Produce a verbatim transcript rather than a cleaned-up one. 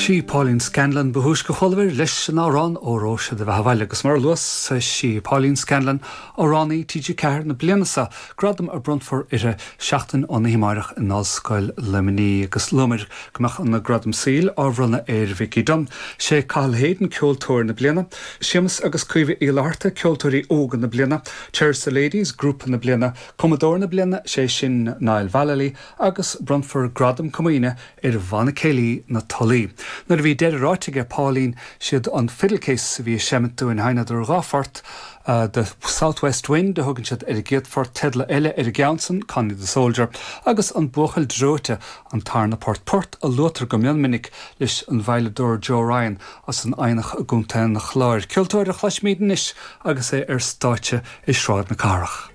Sí Pauline Scanlon ba thúisce a chualamar leis an amhrán Óró Sé do Bheatha 'Bhaile agus mar a luas sí Pauline Scanlon amhránaí TG Ceathair na bliana seo gradam a bronnfar uirthi seachtain ón amárach in Ollscoil Luimnigh agus luamar go mbeadh an gradam saoil á bhronnadh ar Vicky Dunn. Sé Cathal Hayden ceoltóir na bliana, Séamus agus Caoimhe Uí Fhlatharta ceoltóirí óga na bliana, Cherish the Ladies grúpa na bliana, Cumadóir na bliana sé sin Niall Vallely agus bronnfar gradam comaoine ar bhanna céilí na Tulaí. Nuair a bhí deireadh ráite ag Pauline siad an Fiddle Case a bhí ag seimint dúinn sheinneadar dhá phort uh, the Southwest Wind a thugann siad ar an gcéad phort teideal eile ar an gceann san Connie the Soldier agus an buachaill dreoite an tarna port port a luaitear go minic leis an veidhleadóir Joe Ryan as an Eidhneach i gContae an Chláir. Ceoltóir a chloisfimid anois agus é ar stáitse i Sráid na Cathrach.